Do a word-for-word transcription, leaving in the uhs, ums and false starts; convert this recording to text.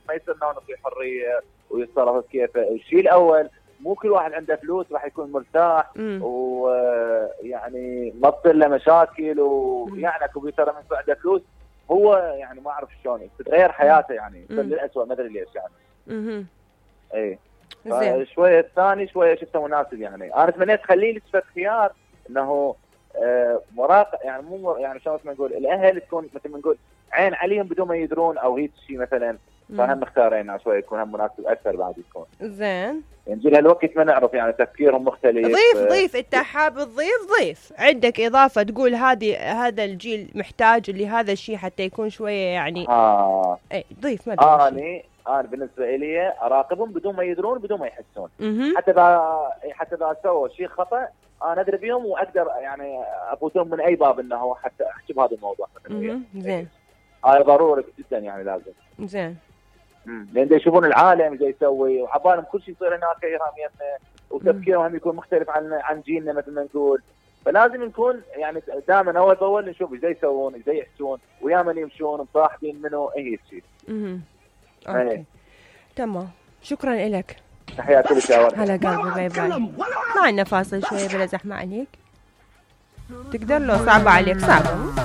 ما يصير نعطي حريه ويتصرف كيفه. الشيء الاول مو كل واحد عنده فلوس راح يكون مرتاح ويعني ما تصير له مشاكل، ويعني اكو ترى من عنده فلوس هو يعني ما اعرف شلون تتغير حياته يعني تصير للاسوء ما ادري ليش يعني. اها اي زين. شويه الثاني شويه شفته مناسب يعني. انا تمنيت خليه لي صفه خيار انه آه مراقب يعني مو يعني شلون ما نقول الاهل تكون مثل ما نقول عين عليهم بدون ما يدرون او هيك شيء مثلا. فهم مختارين شوي يكون هم مناسب اكثر بعد يكون. زين. يعني جيل هالوقت ما نعرف يعني تفكيرهم مختلف. ضيف ضيف انت حاب تضيف ضيف عندك اضافه تقول هذه هذا الجيل محتاج لهذا الشيء حتى يكون شويه يعني. اه اي ضيف ما ادري. اني انا بالنسبه لي اراقبهم بدون ما يدرون بدون ما يحسون. مم. حتى اذا حتى اذا سووا شيء خطا انا ادري بيهم واقدر يعني افوتهم من اي باب انه حتى احكي بهذا الموضوع مثلا. زين. هاي ضروري جدا يعني لازم. زين. امم لان يشوفون العالم ايش يسوي وعبالهم كل شيء يصير هناك ايرام يمنا وتفكيرهم يكون مختلف عن عن جيلنا مثل ما نقول. فلازم نكون يعني دائما اول باول نشوف ايش يسوون ايش يحسون ويا من يمشون مصاحبين منه هي الشيء. اها اوكي تمام. شكرا لك. تحياتي لك يا ورد. هلا قلبي باي باي. ما عندنا فاصل شويه بلا زحمه عليك. تقدر لو صعبه عليك صعبه.